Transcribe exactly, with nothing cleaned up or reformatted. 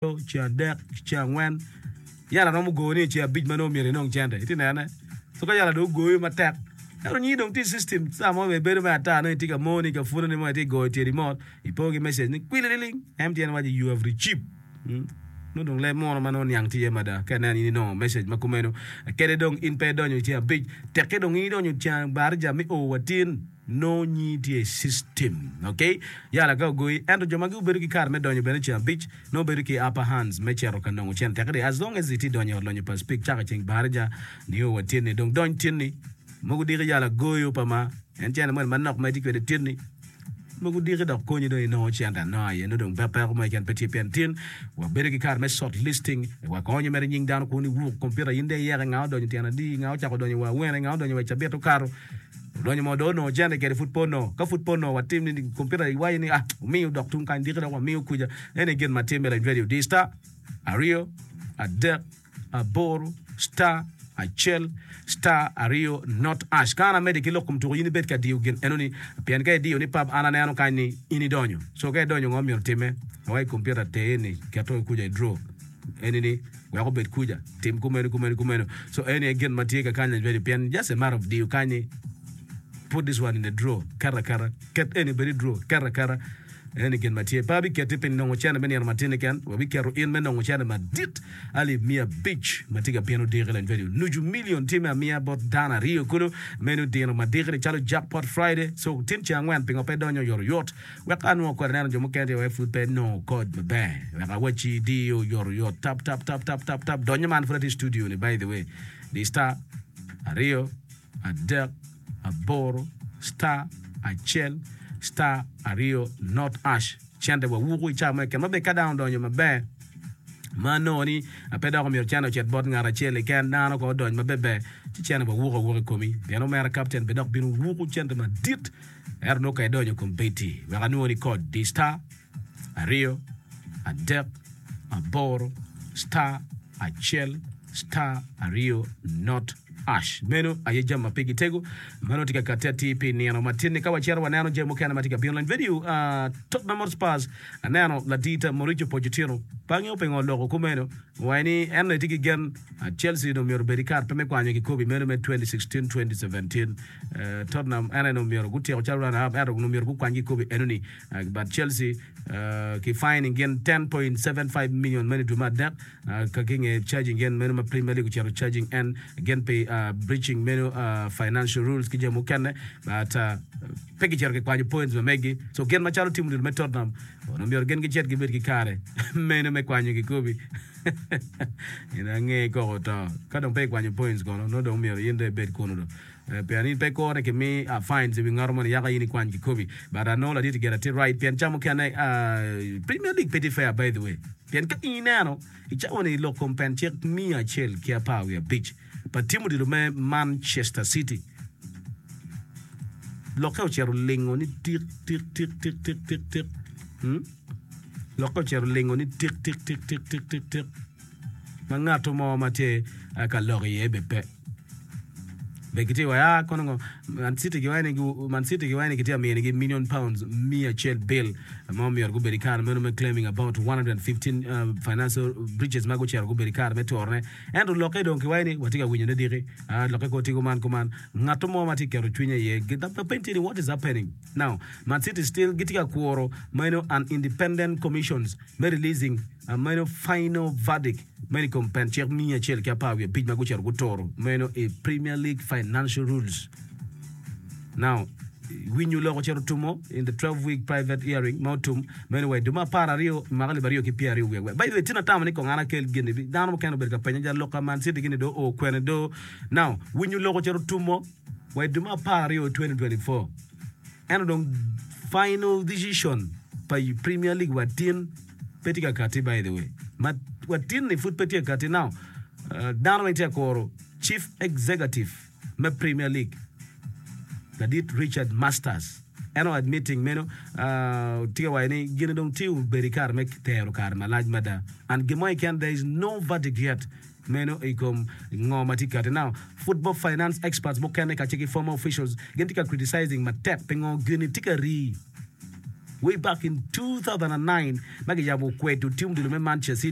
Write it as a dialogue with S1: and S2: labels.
S1: Ceng adek, ceng angwen, yala romo goyo ni i ceng abic ma nongo myero inong cente. Itye nene? So ka yala dong ogoyo matek, ento nyingi dong tye i system, ca mo bene bedo me ata nongo itye ka moni ka pwononi mo itye ka goyo tyeni mot, ipo ki message ni kwilililing, M T N waco you have received. Nongo dong leb munu ma nongo niang tye iye mada ka ineno in inongo message ma kumeno. Kede dong in pe idonyo i ceng abic, tekke dong in idonyo ceng baraja me o wa tin. Nongo nyingi tye i system, ok? Yala ka ogoyi, ento jo ma gubedo ki kare me donyo bene ceng abic, nongo bedo ki upper hands me cito ka nongo cente. Tekdi as long as itye donyo i ot lonyo pa Speke cako i ceng baraja nio wa tyenni, dong dony tyenni. Mogo diki yala goyo pa ma en cente moni manok ma itye kwede tyenni, mogo diki dok konyi dong inongo cente anonga iye, nongo dong peko mo keken pe tye pien tin wabedo ki kare me short listing, wakonyo mere nying dano kun iwuk kompiuta in dong iyeke nga odonyo tyen adi, nga ocako donyo wa awene, nga odonyo wa i cabit okato. Odonyo mo dong onongo cente kede pud pe onongo. Ka pud pe onongo watim ni kompiuta iwaco ni ah omiyo dok tung kany diki dok wamiyo kuca. Eni gin ma timme lany radio di star aryo adek aboro star acel star aryo not ash. Ka an amedde ki lok kom tuko in ibed ka diyo gin enoni pien ka idiyo ni pap an aneno kany ni in idonyo. So ka idonyo ngo myero timme? Awaci kompiuta ter ni keto kuca i draw. Eni ni wek obed kuca, tim kumeno, kumeno, kumeno. So eni aye gin ma tye ka kany already pien just a matter of diyo kany ni put this one in the drawer, ket aketa, ket eni obed i drawer, ket aketa. Eni gin ma tye. Pe abiketi pi nongo cene me nino matin keken, wabiketo in me nongo cene madit alip miya abic ma tye ka bino diki lany radio. Nucu million tye me amiya bot dano aryo kulu meno dino madiki ni calo Jackpot Friday. So tin ceng angwen pingo pe idonyo oyotoyot? Wek anwo kodi neno jo mukene tye wek pud pe nongo kod maber. Wek awacci diyo oyotoyot tap tap tap tap tap tap donyo man pud atye i studio ni by the way di star aryo adek aboro star acel star aryo not ash cente wa wuku i cawa mo keken ma bene ka dano odonyo maber ma anongo ni pe dok omyero cente ocit bot ngat acel keken dano ko odony maber ci cente wa wuku awuka i komi pien omera kapten bene dok bino wuku cente madit. Ento nongo ka idonyo i kom bedi, wek anwoni kod di star aryo adek aboro star acel star aryo not ash. Meno aye jami ma pigi tego ma nongo tye ka katti atir pi nino matin-ni. Ka wacito waneno jami mukene ma tye ka bino lony vedio uh, Tottenham Hotspurs aneno ladita Mauricio Pochettino pe angeyo pingo oloko kumeno owaco ni en onongo tye ki gen Chelsea onongo myero obed ki kare pe me kwanyo kikobi meno me twenty sixteen twenty seventeen. Tottenham en aye onongo myero gutyeko calo runner up ento onongo myero gukwany kikobi enoni, but Chelsea ki fining gin ten point seven five million meno i dwe me adek ka ki nge charging gin meno ma Premier League ocito charging en gin pi breaching meno financial rules ki jami mukene, but pe gicito kikwanyo points ma megi. So gin macalo team odilo me Tottenham onongo myero gin gicit gibed ki kare meno me kwanyo kikobi in ange koko to ka dong pe ikwanyo points kono nongo dong myero in dong ibed kunu dong. Pien in pe ikore ki mi fines i wi ngato moni yaka in ikwany kikobi. But anongo ladit gire tye right pien ca mukene Premier League pe tye fair, by the way. Pien ka in ineno i cawa ni lok kom pen cik miya acel ki apar wiye abic pa team odilo me Manchester City lokke ocito lingo ni tik tik tik tik tik tik tik hmm? Lokke ocito lingo ni tik tik tik tik tik tik tik ma ngato mo ma tye ka lok iye be pe. Be gitye wa ya kono ngo Man City giwaco ni Man City giwaco ni gitye ka minigi million pounds miya acel bill ma omyero gubed i kare meno me claiming about one hundred fifteen uh, financial breaches ma gucito gubedo i kare me turone. Ento lokke dong kiwaco ni watye ka winyone diki uh, lokke ko tye kuman kuman ngat mo ma tye ka keto cwinye iye lapeny tye ni what is happening now? Man City still gitye ka kuro meno an independent commissions me releasing uh, meno final verdict meno i kom pen cik miya acel ki apar wiye abic ma gucito guturo meno i Premier League financial rules. Now, winyo lok ocito otumo in the twelve week private hearing ma otum meno wa i dwe me apar aryo i mwaka alip aryo ki pyeraryo wiye wiye. By the way, tin atamo ni kong an akel gin ni dano mukene obedo ka penya ja lok ka Man City gini do o kwene do. Now, winyo lok ocito otumo wa i dwe me apar aryo twenty twenty-four. Ento dong final decision pa Premier League wa tin pe tye ka kati, by the way ma wa tin ni pud pe tye ka kati. Now uh, dano weng tye ka kuro chief executive me Premier League ladit Richard Masters en o admitting meno uh, tye ka waco ni gine dong tye obedo i kare me tero kare malac mada and gin mo keken there is no verdict yet meno i kom ngo ma tye kati. Now football finance experts mukene kacel ki former officials gin tye ka criticizing matek pingo gini tye ka rii. Way back in two thousand and nine ma kiyabo kwedo tim odilo me Manchester City.